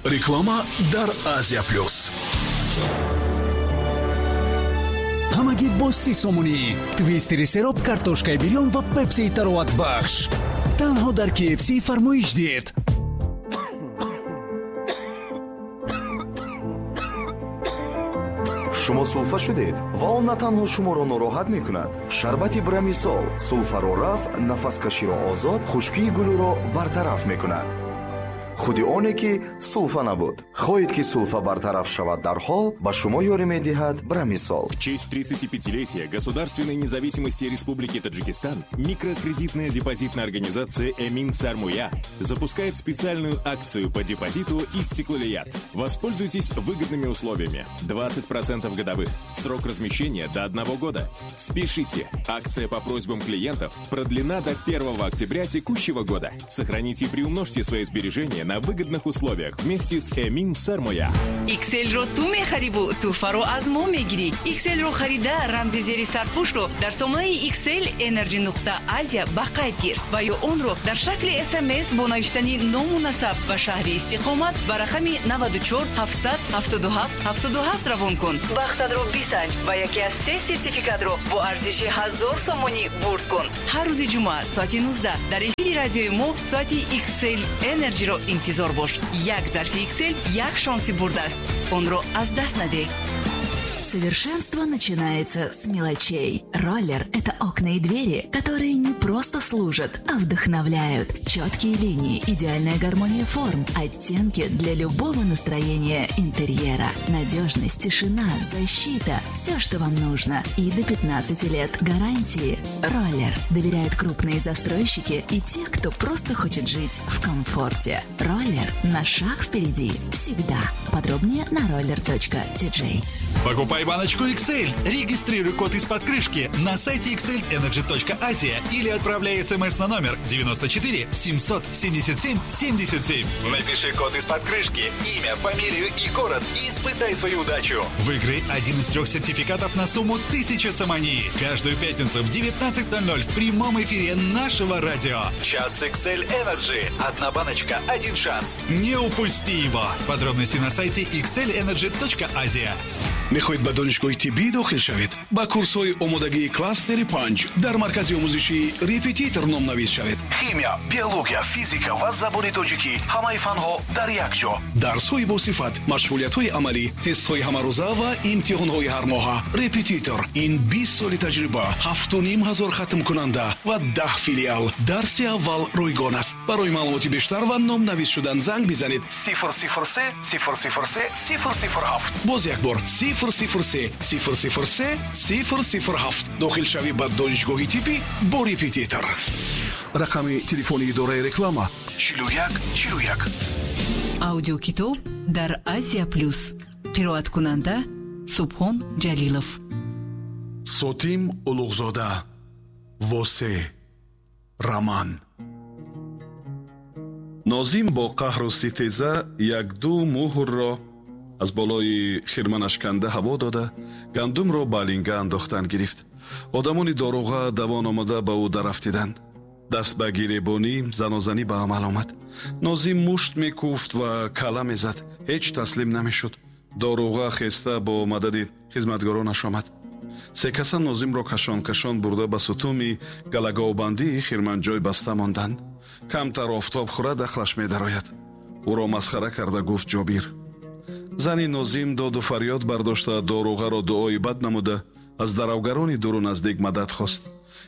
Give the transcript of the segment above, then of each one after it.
Реклама дар Азия Плюс. Ҳамагӣ бо 30 сомонӣ. Твистери сероб, картошкаи бирён ва пепсии тароватбахш. Танҳо дар KFC фармоиш диҳед. Шумо сулфа шудед ва он на танҳо шуморо нороҳат мекунад. Шарбати Брамисол сулфаро рафъ, нафаскаширо озод, хушкии гулӯро бартараф мекунад. Худи оне ки сулфа набуд. Хоҳед ки сулфа бартараф шавад дарҳол, ба шумо ёрӣ медиҳад Брамисол. В честь 35-летия государственной независимости Республики Таджикистан микрокредитная депозитная организация «Эмин Сармоя» запускает специальную акцию по депозиту «Истиклолият». Воспользуйтесь выгодными условиями. 20% годовых. Срок размещения до 1 года. Спешите! Акция по просьбам клиентов продлена до 1 октября текущего года. Сохраните и приумножьте свои сбережения на выгодных условиях вместе с Эмин Сармоя. XL-ро ту мехариву туҳфаро аз мо мегирӣ. XL-ро харида рамзи зери сарпӯшро дар сомонаи XL Energy нуқта Азия ба қайд гир ва ё онро дар шакли СМС бо навиштани ному насаб ва шаҳри истиқомат ба рақами 94 777 77 равон кун. Бахтатро бисанҷ ва яке аз се сертификатро бо арзиши 1000 сомонӣ бурд кун. Ҳар рӯзи ҷумъа соати 19 дар эфири радиои мо соати XL Energy-ро интизор бош. Як зарфи XL як шонси бурд аст. Онро аз даст надеҳ. Совершенство начинается с мелочей. Роллер – это окна и двери, которые не просто служат, а вдохновляют. Четкие линии, идеальная гармония форм, оттенки для любого настроения интерьера. Надежность, тишина, защита – все, что вам нужно. И до 15 лет гарантии. Роллер доверяют крупные застройщики и те, кто просто хочет жить в комфорте. Роллер на шаг впереди всегда. Подробнее на roller.tj. Покупай баночку XL, регистрируй код из-под крышки на сайте xlenergy.asia или отправляй смс на номер 94 777 77. Напиши код из-под крышки, имя, фамилию и город и испытай свою удачу. Выиграй один из 3 сертификатов на сумму 1000 сомони. Каждую пятницу в 19:00 в прямом эфире нашего радио. Час XL Energy. Одна баночка, один шанс. Не упусти его. Подробности на сайте xlenergy.asia. Мехоҳед ба донишгоҳи тиббӣ дохил шавед? Ба курсҳои омодагии кластери 5 дар маркази омӯзишии репетитор номнавис шавед. Химия, биология, физика ва забони тоҷикӣ, ҳамаи фанҳо дар як ҷо. Дарсҳои босифат, машғулиятҳои амалӣ, тестҳои ҳамарӯза ва имтиҳонҳои ҳармоҳа. Репетитор ин 20 соли таҷриба, 7500 хатмкунанда ва 10 филиал. Дарси аввал ройгон аст. Барои маълумоти бештар ва номнавис шудан занг бизанед 003 003 007. Боз як бор 003 003 007. Дохилшавӣ ба донишгоҳи тиббӣ бо репетитор. Рақами телефони идораи реклама 41 41. Аудиокитоб дар Азия Плюс. Қироаткунанда Субҳон Ҷалилов. Сотим Улуғзода. Восе. Роман. Нозим бо қаҳру ситеза як-ду муҳрро аз болои хирманаш канда ҳаво дода, гандумро ба линга андохтан гирифт. Одамони доруға давон омада ба ӯ дарафтиданд. Даст ба гиребонӣ, занозанӣ ба амал омад. Нозим мушт мекуфт ва кала мезад, ҳеҷ таслим намешуд. Доруға хеста бо мадади хизматгоронаш омад. Се каса Нозимро кашон-кашон бурда ба сутуми галаговбандии хирманҷой баста монданд. Камтар офтоб хӯрад, ақлаш медарояд. Ӯро масхара карда гуфт Ҷобир. Зани Нозим доду фарёд бардошта, доруғаро дуои бад намуда, аз даравгарони дуру наздик мадад хост.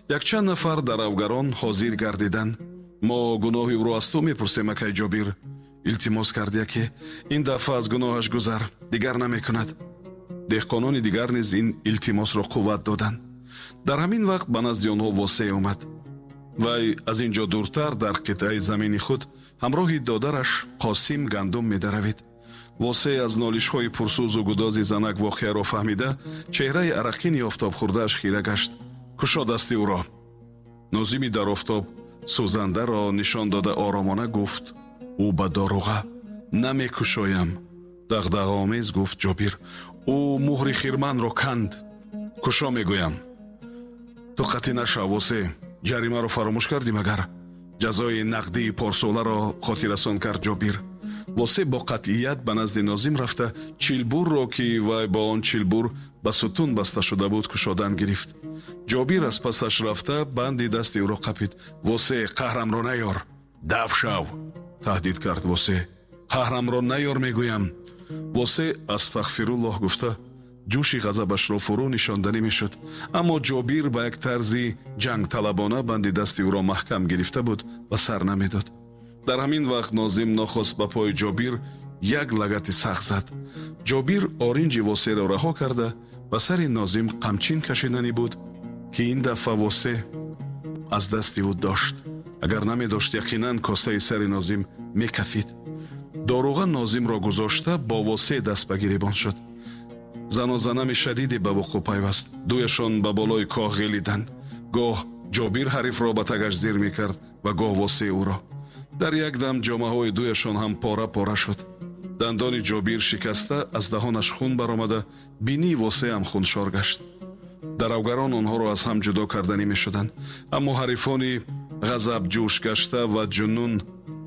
Якчанд нафар даравгарон ҳозир гардиданд. Мо гуноҳи ӯро аз ту мепурсем, акай Ҷобир. Илтимос кард яке. Ин дафъа аз гуноҳаш гузар, дигар намекунад. Деҳқонони дигар низ ин илтимосро қувват доданд. Дар ҳамин вақт ба назди онҳо Восеъ омад. Вай аз ин ҷо дуртар дар қитъаи замини худ ҳамроҳи додараш Қосим гандум медаравид. Восеъ аз нолишҳои пурсӯзу гудози занак воқеаро фаҳмида, чеҳраи арақини офтобхӯрдааш хира гашт. Кушо дасти ӯро. Нозими дар офтоб сӯзандаро нишон дода оромона гуфт: ӯ ба доруға. Намекушоям. Дағдағаомез гуфт Ҷобир. Ӯ муҳри хирманро канд. Кушо мегӯям. Ту қатъӣ нашав, Восеъ. Ҷаримаро фаромӯш кардӣ магар? Ҷазои нақдии порсоларо хотиррасон кард Ҷобир. Восе бо қатъият ба назди Нозим рафта, чилбурро, ки вай бо он чилбур ба сутун баста шуда буд, кушодан гирифт. Ҷобир аз пасаш рафта, банди дасти ӯро қапид. «Восе, қаҳрамро наёр!» «Даф шав!» таҳдид кард Восе. «Қаҳрамро наёр, мегӯям!» Восе астағфируллоҳ гуфта, ҷӯши ғазабашро фурӯ нишонданӣ мешуд, аммо Ҷобир ба як тарзи ҷангталабона банди дасти ӯро маҳкам гирифта буд ва сар намедод. Дар ҳамин вақт Нозим нохост ба пои Ҷобир як лагати сахт зад. Ҷобир оринҷи Восеро раҳо карда, ба сари Нозим қамчин кашиданӣ буд, ки ин дафъа Восе аз дасти ӯ дошт. Агар намедошт, яқинан косаи сари Нозим мекафид. Доруға Нозимро гузошта, бо Восе даст ба гиребон шуд. Занозанами шадиде ба вуқӯъ пайваст. Дуяшон ба болои коҳ ғелиданд. Гоҳ Ҷобир ҳарифро ба тагаш зир мекард ва гоҳ Восе ӯро. Дар як дам ҷомаҳои дуяшон ҳам пора пора шуд. Дандони Ҷобир шикаста, аз даҳонаш хун баромада, бинии Восе ҳам хуншор гашт. Даравгарон онҳоро аз ҳам ҷудо карданӣ мешуданд, аммо ҳарифони ғазаб ҷӯш гашта ва ҷунун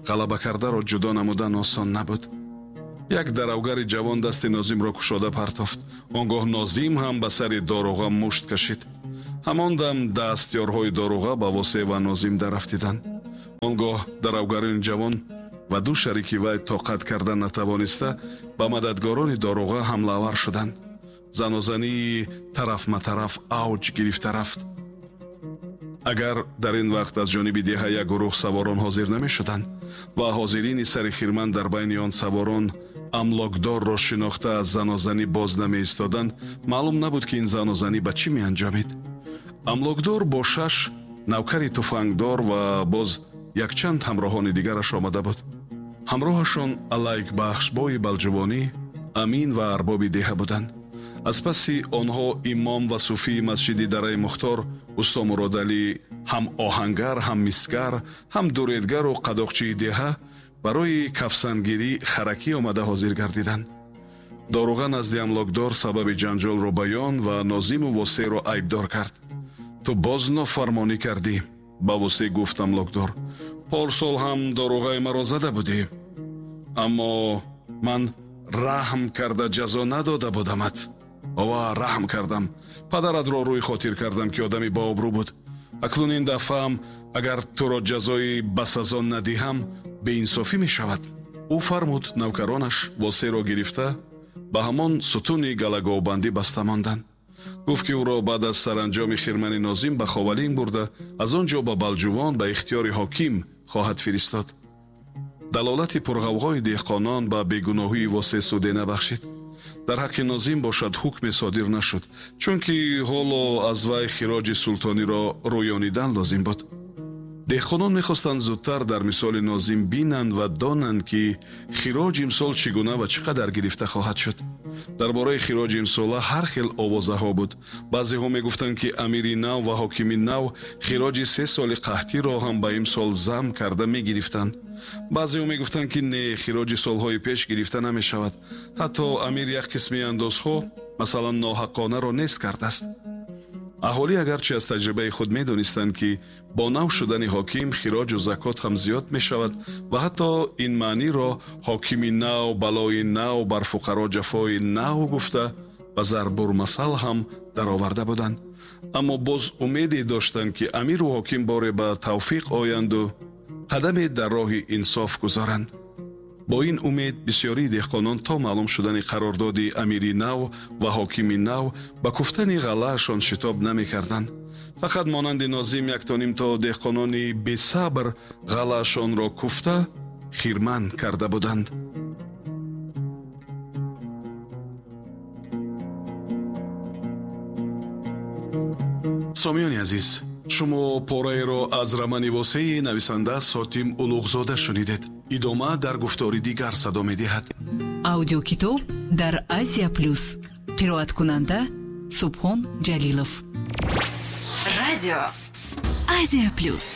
ғалаба кардаро ҷудо намудан осон набуд. Як даравгари ҷавон дасти Нозимро кушода партофт. Он гоҳ Нозим ҳам ба сари доруға мушт кашид. Ҳамон дам дастёрҳои доруға ба Восе ва Нозим дарафтиданд. Он гоҳ даравгарони ҷавон ва ду шарики вай тоқат карда натавониста, ба мададгорони доруға ҳамлаавар шуданд. Занозании тарафматараф авҷ гирифта рафт. Агар дар ин вақт аз ҷониби деҳа як гурӯҳ саворон ҳозир намешуданд ва ҳозирини сари хирман дар байни он саворон амлокдорро шинохта, аз занозанӣ боз намеистоданд, маълум набуд, ки ин занозанӣ ба чӣ меанҷомид. Амлокдор бо шаш навкари туфангдор ва боз якчанд ҳамроҳони дигараш омада буд. Ҳамроҳашон Алайкбахшбои Балҷувонӣ, амин ва арбоби деҳа буданд. Аз паси онҳо имом ва суфии масҷиди Дараи Мухтор, усто Муродалӣ, ҳам оҳангар, ҳам мисгар, ҳам дуредгару қадоқчии деҳа, барои кафсангирӣ харакӣ омада ҳозир гардиданд. Доруға назди амлокдор сабаби ҷанҷолро баён ва Нозиму Восеро айбдор кард. «Ту боз нофармонӣ кардӣ», ба Восе гуфт амлокдор. «Порсол ҳам доруғаи маро зада будӣ, аммо ман раҳм карда ҷазо надода будамат. Ова, раҳм кардам, падаратро рӯи хотир кардам, ки одами бообрӯ буд. Акнун ин дафъаам агар туро ҷазои басазо надиҳам, беинсофӣ мешавад». Ӯ фармуд, навкаронаш Восеро гирифта, ба ҳамон сутуни галаговбандӣ баста монданд. Гуфт, ки ӯро баъд аз саранҷоми хирмани Нозим ба Ховалинг бурда, аз он ҷо ба Балҷувон ба ихтиёри ҳоким хоҳад фиристод. Далолати пурғавғои деҳқонон ба бегуноҳии Восе суде набахшид. Дар ҳаққи Нозим бошад, ҳукме содир нашуд, чунки ҳоло аз вай хироҷи султониро рӯёнидан лозим буд. Деҳқонон мехостанд зудтар дар мисоли Нозим бинанд ва донанд, ки хироҷ имсол чӣ гуна ва чӣ қадар гирифта хоҳад шуд. Дар бораи хироҷи имсола ҳар хел овозаҳо буд. Баъзеҳо мегуфтанд, ки амири нав ва ҳокими нав хироҷи 3 соли қаҳтиро ҳам ба имсол зам карда мегирифтанд. Баъзеҳо мегуфтанд, ки не, хироҷи солҳои пеш гирифта намешавад. Ҳатто амир як қисми андозҳо, масалан ноҳаққонаро, нест кардааст. Аҳолӣ агарчи аз таҷрибаи худ медонистанд, ки бо нав шудани ҳоким хироҷу закот ҳам зиёд мешавад ва ҳатто ин маъниро ҳокими нав балои нав, бар фуқаро ҷафои нав гуфта, ба зарбурмасал ҳам дароварда буданд, аммо боз умеде доштанд, ки амиру ҳоким боре ба тавфиқ оянду қадаме дар роҳи инсоф гузоранд. Бо ин умед бисёрии деҳқонон то маълум шудани қарордоди амири нав ва ҳокими нав ба куфтани ғаллаашон шитоб намекарданд. Фақат монанди Нозим яктоним то деҳқонони бесабр ғаллаашонро куфта, хирман карда буданд. Сомиёни азиз, шумо пораеро аз романи Восеи нависанда Сотим Улуғзода шунидед. Идома дар гуфтори дигар садо медиҳад. Аудиокитоб дар Азия Плюс. Қироаткунанда Субҳон Ҷалилов. Радио Азия Плюс.